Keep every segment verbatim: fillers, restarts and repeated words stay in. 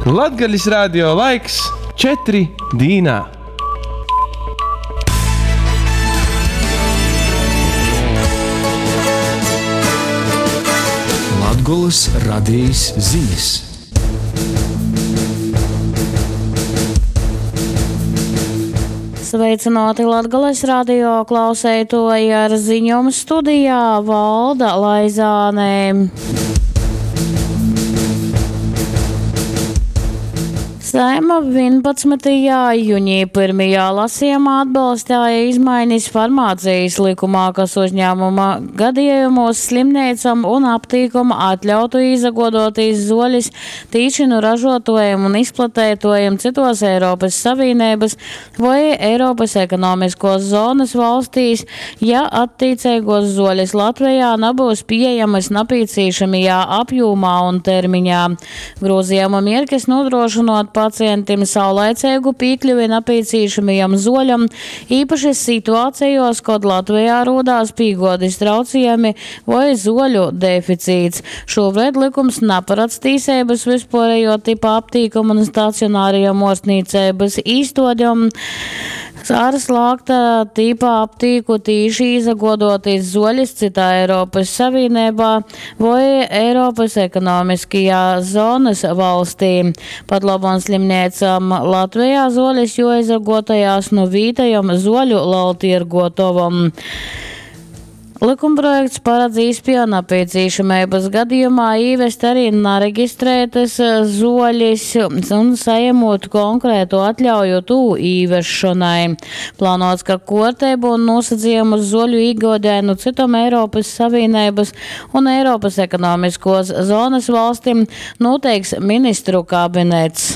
Latgalis radio laiks četri dīnā. Latgolys radejis zinis. Sveicināti Latgales radio klauseitoji ar ziņom studijā Valda Laizāne. Saeima vienpadsmitajā jūnijā pirmajā lasījumā atbalstīja izmaiņas farmācijas likumā, kas uzņēmuma gadījumos slimnīcam un aptīkam atļautu izagodoties zoļas tīši nu ražotājiem un izplatētojiem citos Eiropas Savienības vai Eiropas ekonomiskos zonas valstīs, ja attiecīgos zoļas Latvijā nebūs pieejamas napīcīšamajā apjomā un termiņā. Grozījuma mierkis nodrošinot pacientiem saulaicīgu piekļuvi nepieciešamajam zoļam, īpaši situācijos, kad Latvijā rodās pīgodis traucējumi vai zoļu deficīts. Šobrīd likums neparedz tīsības vispārējo tipa aptīkumu un stacionārajam ārstniecības īstodjam. Ar slāgta tipa aptīku tīši izagodoties zoļas citā Eiropas Savienībā vai Eiropas ekonomiskajā zonas valstī. Pat labam slimniecam Latvijā zoļas joizagotajās nu vītajam zoļu laltirgotovam. Likumprojekts paredz īspēju nepieciešamības gadījumā ievest arī nereģistrētas zoļas un saņemot konkrētu atļauju tū īvešanai. Plānots, ka kortēbu un nosacījumus zoļu iegādē nu citam Eiropas Savienības un Eiropas ekonomiskos zonas valstīm noteiks ministru kabinets.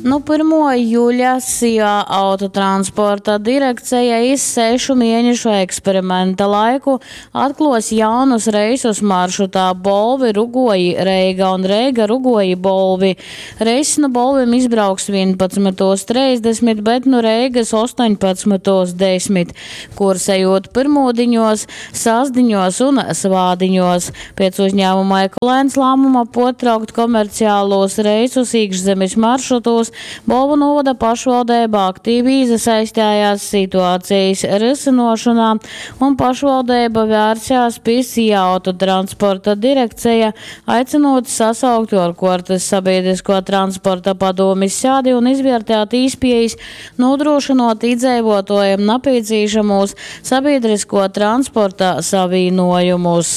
Nu, pirmo jūļa S I A autotransporta direkcija iz sešu mēnešu eksperimenta laiku atklos jaunus reisus maršrutā Bolvi, Rugoji, Reiga un Reiga, Rugoji, Bolvi. Reiss nu Bolvim izbrauks vienpadsmitos trīsdesmit, bet nu Reigas astoņpadsmitos desmit, kursējot pirmūdiņos, sasdiņos un svādiņos. Pēc uzņēmuma Ekolēns lēmuma potraukt komerciālos reisus iekšzemes maršrutos, Bolvu novada pašvaldība aktīvi iesaistījās situācijas risinošanā un pašvaldība vērsās pie S I A autotransporta direkcija, aicinot sasaukt ārkārtas sabiedrisko transporta padomis sēdi un izvērtēt īspējas nodrošinot iedzīvotājiem nepieciešamos sabiedrisko transporta savienojumus.